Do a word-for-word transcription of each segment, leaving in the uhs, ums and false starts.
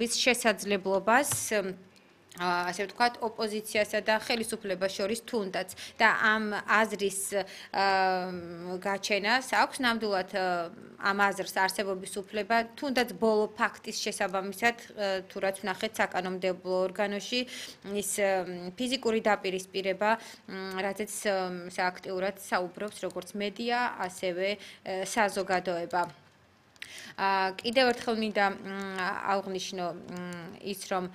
შესაძლებლობას ასე ვთქვათ, ოპოზიციასა და ხელისუფლებას შორის თუნდაც და ამ აზრის გაჩენას აქვს ნამდვილად ამ აზრს არსებობის უფლება, თუნდაც ბოლო ფაქტის შესაბამისად, თუ რაც ვნახეთ საკანონმდებლო ორგანოში, ის ფიზიკური დაპირისპირება, რაზეც აქტიურად საუბრობს როგორც მედია, ასევე საზოგადოება. კიდევ ერთხელ მინდა აღვნიშნო ის, რომ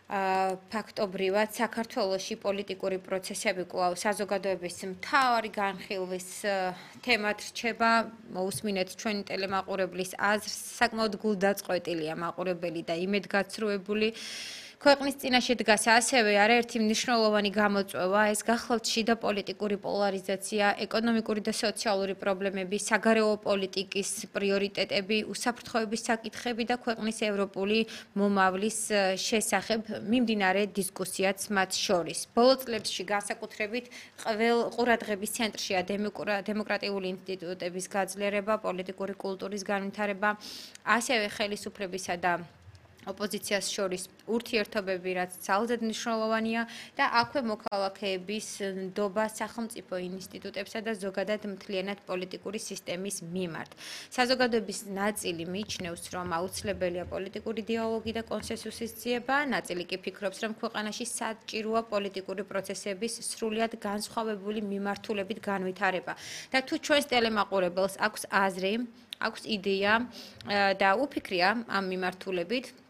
ფაქტობრივად საქართველოში პოლიტიკური პროცესები კვლავ საზოგადოების მთავარი განხილვის თემად რჩება. მოусმინეთ ჩვენი ტელემაყურებლის აზრს, საკმაოდ გულდაწყვეტილია მაყურებელი და იმედგაცრუებული. ქვეყნის წინაშე დგას ასევე არაერთი მნიშვნელოვანი გამოწვევა, ეს გახლავთ შიდა პოლიტიკური პოლარიზაცია, ეკონომიკური და სოციალური პრობლემები, საგარეო პოლიტიკის პრიორიტეტები, უსაფრთხოების საკითხები და ქვეყნის ევროპული მომავლის შესახებ მიმდინარე დისკუსიაც მათ შორის. ბოლო წლებში განსაკუთრებით ყურადღების ცენტრშია დემოკრატიული ინსტიტუტების გაძლიერება, პოლიტიკური კულტურის განვითარება, ასევე ხელისუფლებისა და ოპოზიციას შორის ურთიერთობები, რაც ძალზედ მნიშვნელოვანია და აქვე მოქალაქეების ნდობა სახელმწიფო ინსტიტუტებსა და ზოგადად მთლიანად პოლიტიკური სისტემის მიმართ. საზოგადოების ნაწილი მიიჩნევს, რომ აუცილებელია პოლიტიკური დიალოგი და კონსენსუსის ძიება, ნაწილი კი ფიქრობს, რომ ქვეყანაში საჭიროა პოლიტიკური პროცესების სრულიად განსხვავებული მიმართულებით განვითარება. და თუ ჩვენს ტელემაყურებელს აქვს აზრი, აქვს იდეა და უფიქრია ამ მიმართულებით,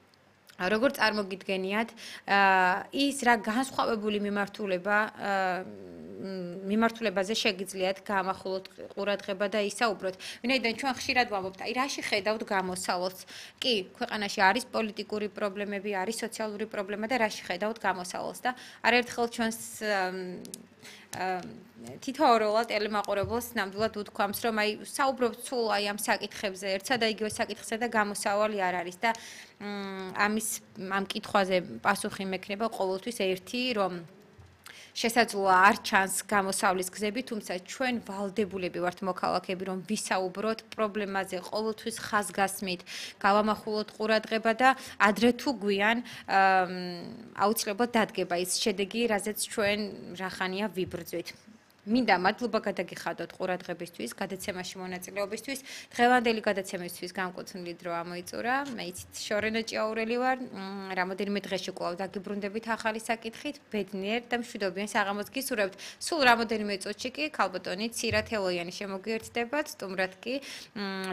როგორც წარმოგიდგენიათ, ის რა განსხვავებული მიმართულება მიმართულებაზე შეგიძლიათ გაამახვილოთ ყურადღება და ისაუბროთ. ვინაიდან ჩვენ ხშირად ვამბობთ, აი რაში ხედავთ გამოსავალს? კი, ქვეყანაში არის პოლიტიკური პრობლემები, არის სოციალური პრობლემა და რაში ხედავთ გამოსავალს და არაერთხელ ჩვენს თითოეულ ტელემაყურებელს ნამდვილად უთქვამს, რომ აი საუბრობთ სულ აი ამ საკითხებზე, ერთსა და იგივე საკითხზე და გამოსავალი არ არის და ამის ამ კითხვაზე პასუხი მექნება ყოველთვის ერთი, რომ შესაძლოა არ ჩანს გამოსავლის გზები, თუმცა ჩვენ ვალდებულები ვართ მოქალაქეები, რომ ვისაუბროთ პრობლემაზე ყოველთვის ხაზგასმით, გავამახვილოთ ყურადღება და ადრე თუ გვიან აუცილებლად დადგება ის შედეგი, რაზეც ჩვენ რახანია ვიბრძვით. მინდა მადლობა გადაგიხადოთ ყურადღებისთვის, გადაცემაში მონაწილეობისთვის. დღევანდელი გადაცემისთვის განკუთვნილი დრო ამოიწურა. მე იცით შორენა ჭიაურელი ვარ. რამოდენიმე დღეში კვლავ დაგიბრუნდებით ახალი საკითხით. ბედნიერ და მშვიდობიან საღამოს გისურვებთ. სულ რამოდენიმე წუთში კი ქალბატონი ცირა თელოიანი შემოგვიერთდებათ. სტუმრად კი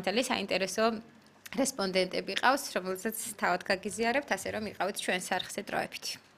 ძალიან საინტერესო რესპონდენტები ყავს, რომელსაც თავად გაგიზიარებთ, ასე რომ იყავით ჩვენ სარხზე დროებით.